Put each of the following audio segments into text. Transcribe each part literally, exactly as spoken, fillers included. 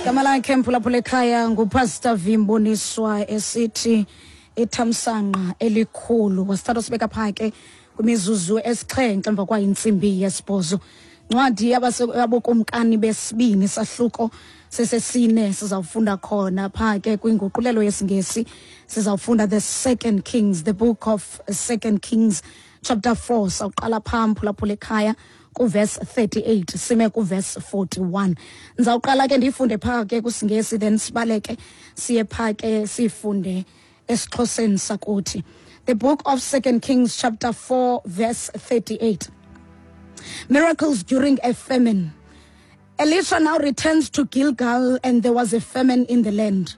Igama lakhe, mphulaphula ekhaya, nguPastor Vimboniswa, esithi "Ithamsanqa Elikhulu". Wasithatha sibeka phaa ke kwimizuzu esixhenxe emva kwayintsimbi yesibhozo. Ncwadi yaboKumkani besibini, sahluko sesesine, sizawufunda khona phaa ke kwinguqulelo yesiNgesi. Sizawufunda the Second Kings, the book of Second Kings, chapter four. Sawuqala phaa, mphulaphula ekhaya, kuverse thirty-eight sime kuverse forty-one. Ndizawuqala ke ndiyifunde phaa ke kwisiNgesi, then sibaleke siye phaa ke siyifunde esiXhoseni sakuthi. The book of Second Kings, chapter four, verse thirty-eight. Miracles during a famine. Elisha now returns to Gilgal, and there was a famine in the land.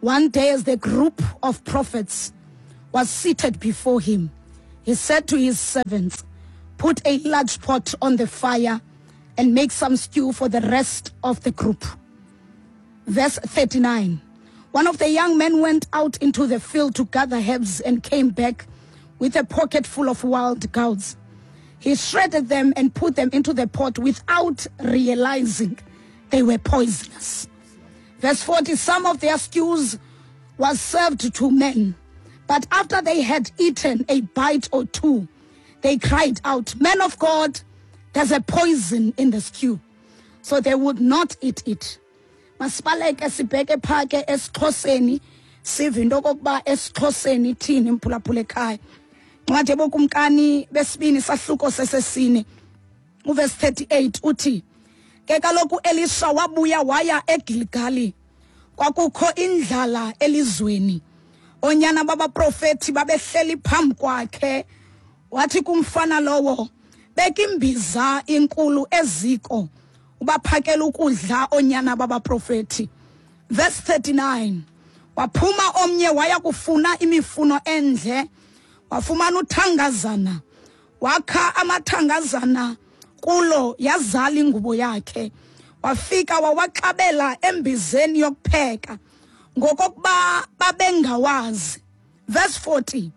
One day, as the group of prophets was seated before him, he said to his servants, "Put a large pot on the fire and make some stew for the rest of the group." Verse thirty-nine. One of the young men went out into the field to gather herbs and came back with a pocket full of wild gourds. He shredded them and put them into the pot without realizing they were poisonous. Verse forty. Some of their stews was served to men, but after they had eaten a bite or two, they cried out, "Man of God, there's a poison in the stew." So they would not eat it. Masibaleke sibheke phaa ke esiXhoseni, sive into okokuba esiXhoseni ithini, mphulaphula ekhaya. Ncwadi eboKumkani besibini, sahluko sesesine, uverse thirty-eight uthi ke kaloku Elisha wabuya waya eGilgali. Kwakukho indlala elizweni. Onyana babaprofethi babehleli phambi kwakhe. Wathi kumfana lowo, "Beka imbiza inkulu eziko, ubaphakela ukudla onyana babaprofethi." Verse thirty-nine. Waphuma omnye waya kufuna imifuno endle, wafumana uthangazana, wakha amathangazana kulo, yazala ingubo yakhe. Wafika wawaxabela embizeni yokupheka ngokokuba babengawazi. Verse forty.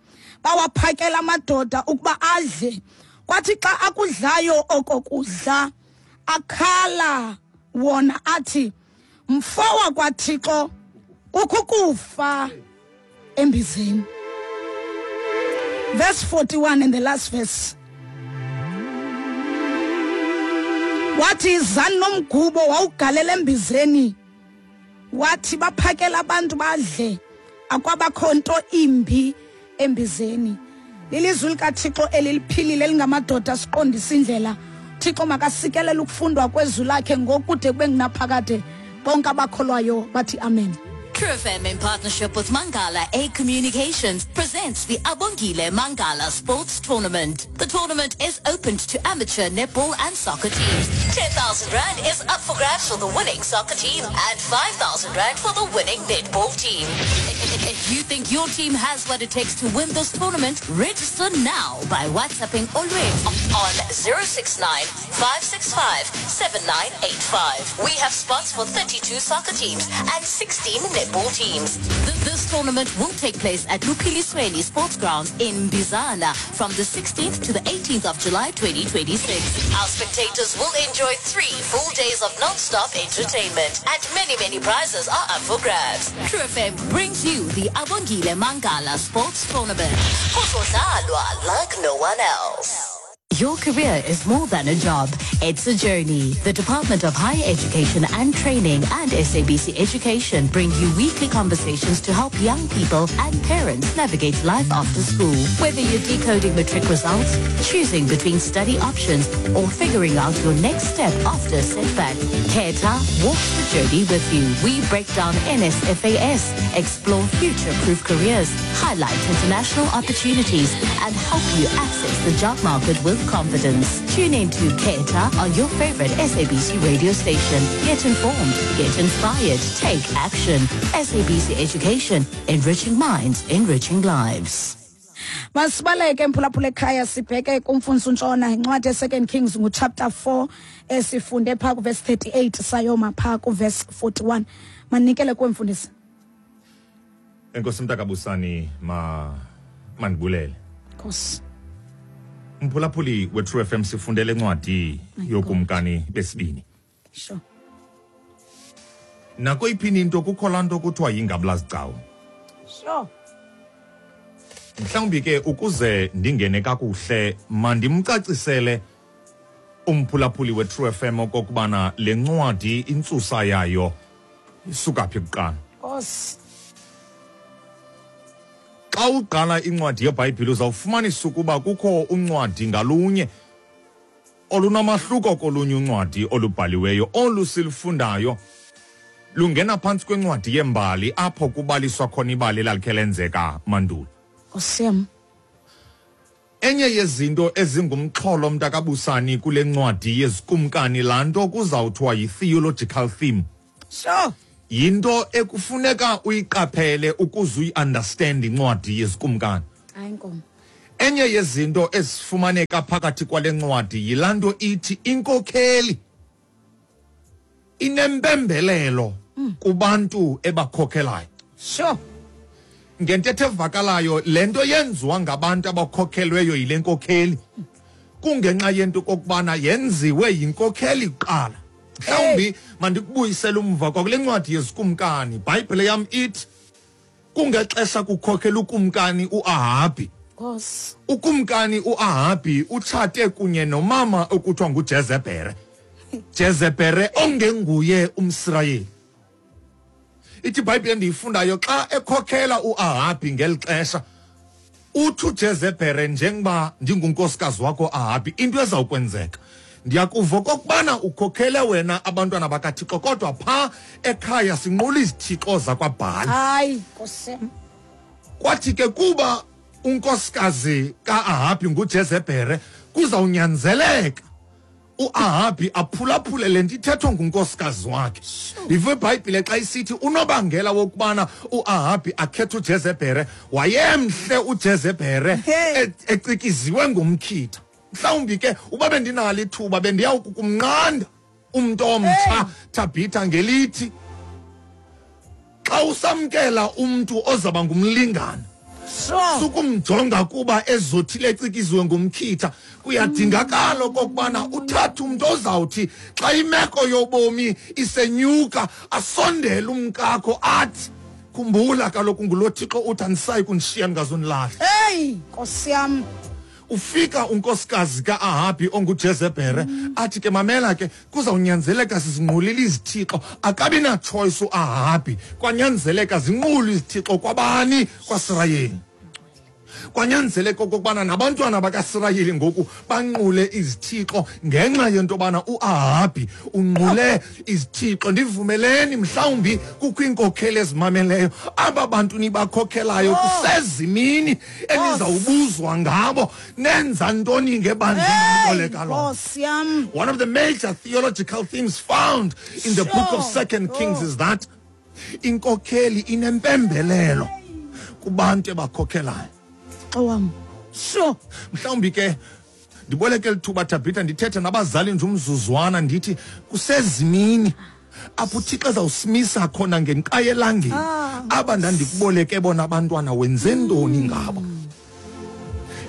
Bawaphakela amadoda ukuba adle. Kwathi xa akudlayo oko kudla, akhala wona athi, "Mfo wakwaThixo, kukho ukufa embizeni." Verse forty-one and the last verse. Wathi, "Izani nomgubo." Wawugalela embizeni. Wathi, "Baphakela abantu badle." Akwabakho nto imbi embizeni. Lilizwi likaThixo eliliphilile, elingamadoda, siqondisa indlela. Thixo makasikelele ukufundwa kwezwi lakhe ngokude kube ngunaphakade. Bonke abakholwayo bathi amen. True F M, in partnership with Mangala A Communications, presents the Abongile Mangala Sports Tournament. The tournament is open to amateur netball and soccer teams. ten thousand Rand is up for grabs for the winning soccer team and five thousand Rand for the winning netball team. If you think your team has what it takes to win this tournament, register now by WhatsApping Olwethu on zero six nine five six five seven nine eight five. We have spots for thirty-two soccer teams and sixteen netball teams. Th- This tournament will take place at Luphilisweni Sports Grounds in Bizana from the sixteenth to the eighteenth of July twenty twenty-six. Our spectators will enjoy three full days of non-stop entertainment, and many, many prizes are up for grabs. True F M brings you the Abongile Mangala Sports Tournament. Kuzodlalwa like no one else. Your career is more than a job. It's a journey. The Department of Higher Education and Training and S A B C Education bring you weekly conversations to help young people and parents navigate life after school. Whether you're decoding matric results, choosing between study options, or figuring out your next step after a setback, Khetha walks the journey with you. We break down N S F A S, explore future-proof careers, highlight international opportunities, and help you access the job market with confidence. Tune in to Khetha on your favorite S A B C radio station. Get informed, get inspired, take action. S A B C Education, enriching minds, enriching lives. Masibaleke, mphulaphula ekhaya, sibheke kumfundisi uNtshona. Incwadi ye-Second Kings, nguchapter four, esifunde phaa kuverse thirty-eight sayoma phaa kuverse forty-one. Manikele kuwe, mfundisi. Enkosi, mntakabusani. Ma mandibulele. Nkosi. Mphulaphuli we-True F M, sifundele incwadi My yoKumkani besibini. Sure. Nakoyiphini into kukho laa nto kuthiwa yingabulazigcawu. Sure. Mhlawumbi ke ukuze ndingene kakuhle mandimcacisele umphulaphuli we-True F M okokubana le ncwadi intsusa yayo isuka phi kuqala. Nkosi. Xa uqala incwadi yeBhayibhile uzawufumanisa ukuba kukho uncwadi ngalunye olunamahluko kolunye uncwadi olubhaliweyo. Olu silufundayo lungena phantsi kwencwadi yembali apho kubaliswa khona ibali elalikhe lenzeka mandulo. Nkosi yam. Enye yezinto ezingumxholo mntakabusani kule ncwadi yezikumkani, laa nto kuzawuthiwa yi-theological theme. Sure. Yinto ekufuneka uyiqaphele ukuze uyi-understand incwadi yezikumkani. Hayi nkomo. Enye yezinto ezifumaneka phakathi kwale ncwadi yilaa nto ithi inkokheli inempembelelo mm. kubantu ebakhokhelayo. Sure. Ngentetho evakalayo, le nto yenziwa ngabantu abakhokhelweyo yile nkokheli kungenxa yento kokubana yenziwe yinkokheli kuqala. Mhlawumbi mandikubuyisele umva kwakule ncwadi yezikumkani. Ibhayibhile yam ithi kungexesha kukhokhela ukumkani uAhabhi. Nkosi. Ukumkani uAhabhi utshate kunye nomama okuthiwa nguJezebhele. Jezebhele ongenguye umSirayeli. Ithi iBhayibhile endiyifundayo xa ekhokhela uAhabhi ngeli xesha, uthi uJezebhele, njengoba ndingunkosikazi wakho Ahabhi, into ezawukwenzeka ndiyakuva okokubana ukhokhele wena abantwana bakaThixo, kodwa phaa ekhaya sinqula izithixo zakwaBhali. Hayi Nkosi. Kwathi ke kuba unkosikazi kaAhabhi nguJezebhele, kuzawunyanzeleka uAhabhi aphulaphule le nto ithethwa ngunkosikazi wakhe. Ive iBhayibhile xa isithi unobangela wokubana uAhabhi akhethe uJezebhele, wayemhle uJezebhele ecikiziwe ngumkhitha. Mhlawumbi ke uba bendinalo ithuba bendiyawukumnqanda umntu omtsha Thabitha ngelithi xa usamkela umntu ozaba ngumlingane, sukumjonga kuba ezothile ecikiziwe ngumkhitha. Kuyadingakala okokubana uthathe umntu ozawuthi xa imeko yobomi isenyuka asondele umkakho athi, khumbula kaloku ngulo Thixo uthi andisayi kunishiya ndingazonilahla. Hey Nkosi yam. Ufika unkosikazi kaAhabhi onguJezebhele athi ke mamela ke kuzawunyanzeleka sizinqulile izithixo. Akabi na-choice uAhabhi, kwanyanzeleka zinqule izithixo kwabani? KwaSirayeli. Kwanyanzeleka okokubana nabantwana bakaSirayeli ngoku banqule izithixo ngenxa yento yobana uAhabhi unqule izithixo. Ndivumeleni mhlawumbi kukho iinkokheli ezimameleyo, aba bantu nibakhokhelayo kusezimini enizawubuzwa ngabo nenza ntoni ngebandla eniboleka lona. One of the major theological themes found in the book of Second Kings is that inkokheli inempembelelo kubantu ebakhokhelayo. Wam. Sure. Mhlawumbi ke ndiboleke lithuba Thabitha ndithethe nabazali nje umzuzwana, ndithi kusezimini apho uThixo ezawusimisa khona ngenqaye elangeni. Aba ndandikuboleke bona abantwana wenze ntoni ngabo?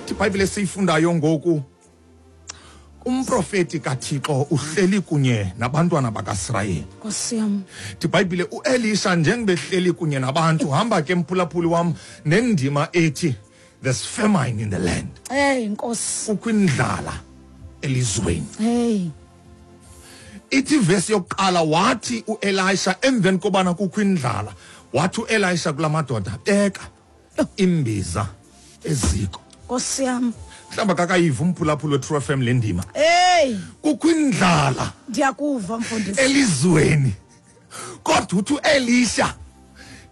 IBhayibhile esiyifundayo ngoku, umprofeti kaThixo uhleli kunye nabantwana bakaSirayeli. Nkosi yam. IBhayibhile uElisha njengoba ehleli kunye nabantu, hamba ke mphulaphuli wam nendima ethi there's famine in the land. Hey Nkosi. Kukho indlala elizweni. Hey. Ithi verse yokuqala wathi uElisha emveni kobana kukho indlala, wathi uElisha kula madoda, beka imbiza eziko. Nkosi yam. Mhlawumbi akakayiva umphulaphuli we-True F M le ndima. Hey. Kukho indlala. Ndiyakuva mfundisi. Elizweni. Kodwa uthi uElisha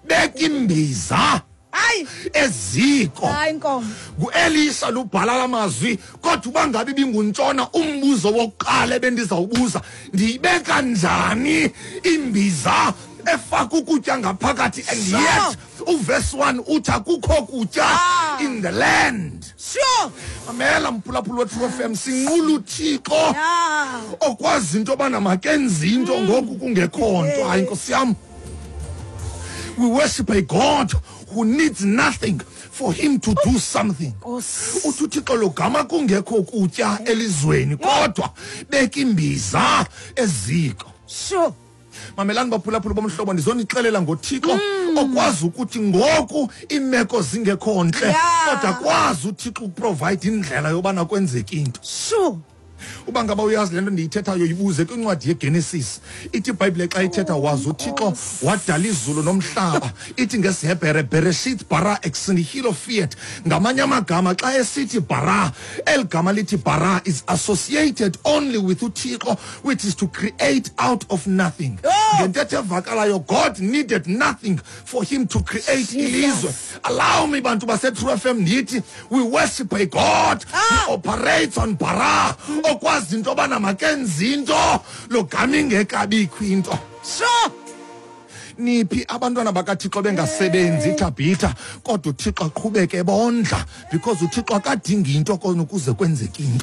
beka imbiza Hayi eziko. Hayi nkomo. NguElisha lubhala lamazwi, kodwa uba ngabe ibinguntshona umbuzo wokuqala ebendizawubuza, ndiyibeka njani imbiza efaka ukutya ngaphakathi? And yet uverse one uthi akukho kutya in the land. Sure. Mamela mphulaphuli we-True F M, sinqula uThixo okwazi into yobana makenze into ngoku kungekho nto. Hayi Nkosi yam. We worship a God who needs nothing for him to do something. Uthi uThixo lo gama kungekho kutya elizweni, kodwa beka imbiza eziko. Sure. Mamelani baphulaphula bomhlobo, ndizonixelela ngoThixo okwazi ukuthi ngoku iimeko zingekho ntle, Yeah. kodwa kwazi uThixo ukuprovide indlela yobana kwenzeke into. Sure. Uba ngaba uyazi le nto ndiyithethayo, yibuze kwincwadi yeGenesis. Ithi iBhayibhile xa ithetha, wazi uThixo wadala izulu nomhlaba, ithi ngesiHebhere bereshit bara ex nihilo fiat. Ngamanye amagama xa esithi bara, eli gama lithi bara is associated only with uThixo, which is to create out of nothing. Oh! Ngentetho evakalayo, God needed nothing for him to create ilizwe. Allow me, bantu base-True F M, ndithi we worship a God Ah! who operates on bara, okwazi into yobana makenze into lo gama ingekabikho into. Sure. Niphi abantwana bakaThixo bengasebenzi ithabhitha, kodwa uThixo aqhubeke ebondla, because uThixo akadingi into kona ukuze kwenzeke into.